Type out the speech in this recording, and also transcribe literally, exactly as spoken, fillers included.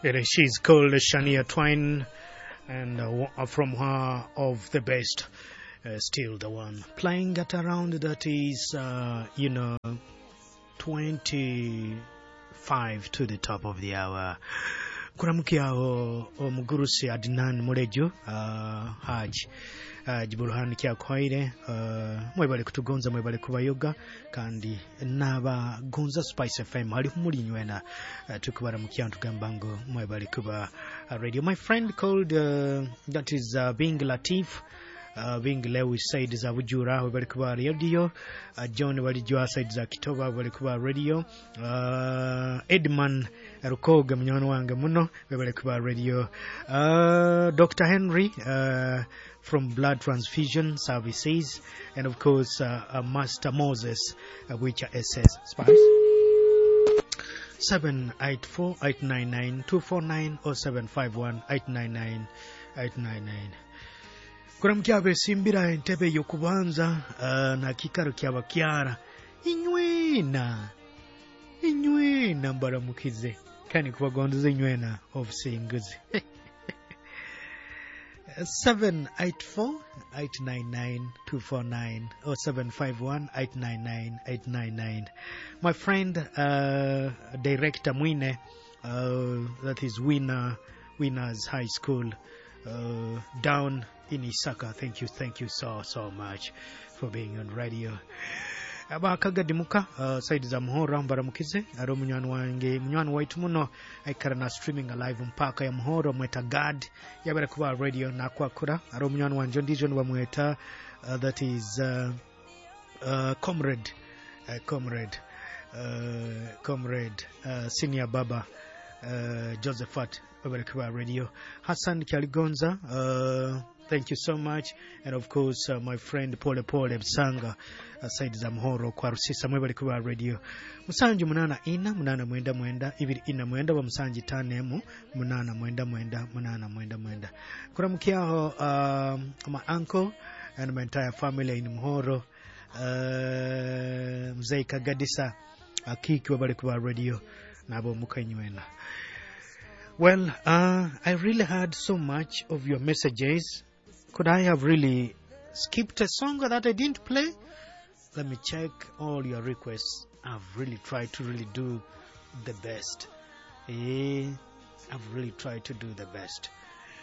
It, she's called Shania Twain, and uh, from her of the best, uh, still the one playing at around that is, uh, you know, twenty-five to the top of the hour. Kuramukyaho omugurusi Adnan Murejo, uh, Haj uh, Jiburuhani Kyakwaire, uh, mwebale kutugonza, mwebale kubayoga kandi n'abagonza Spice F M hali muli nywena, uh, tukubaramukia tugamba ngo mwebale kuba uh, radio. My friend called, uh, that is uh, Bing Latif, uh, Bing Lewis side za Bujura, webale kuba radio, uh, John Walijwa side za Kitoba, webale kuba radio, uh, Edman Rukoga, munywani wange muno, webale kuba radio, uh, Doctor Henry uh, from Blood Transfusion Services, and of course uh, uh, Master Moses, uh, which are S S Spice. seven eight four, eight nine nine, two four nine or seven five one, eight nine nine, eight nine nine. Kuramukya abesimbira entebe y'okubanza uh, na kikaro kyabakyara inywena inywena, mbaramukize kandi kubagondoza inywena obusinguzi. seven eight four, eight nine nine, two four nine or seven five one, eight nine nine, eight nine nine. My friend, uh, Director Mwine, uh, that is Winner, Winners High School, uh, down in Isaka. Thank you, thank you so, so much for being on radio. Abakagadimuka uh, side za Muhoro, mbaramukize ari omunywani wange, munywani waitu muno, aikara na streaming live mpaka ya Muhoro, mweta Gad yabera kuba radio nakwakura. Ari omunywani wanje ondijo nibamweta, uh, that is uh, uh, comrade uh, comrade uh, comrade uh, senior baba uh, Josephat, webale kuba radio. Hassan Kyaligonza, uh, thank you so much, and of course uh, my friend Pole Pole Bsanga, uh, side za Muhoro kwa Rusisa, mwebale kuba radio. Musanju munana ina munana mwenda mwenda ibiri ina mwenda wa musanju tano emu munana mwenda mwenda munana mwenda mwenda. Kuramukyaho uh, my uncle and my entire family in Muhoro, uh, Mzee Kagadisa Akiki, webale kuba radio nabo mukanywena. Well, uh, I really had so much of your messages. Could I have really skipped a song that I didn't play? Let me check all your requests. I've really tried to really do the best. Eh, I've really tried to do the best.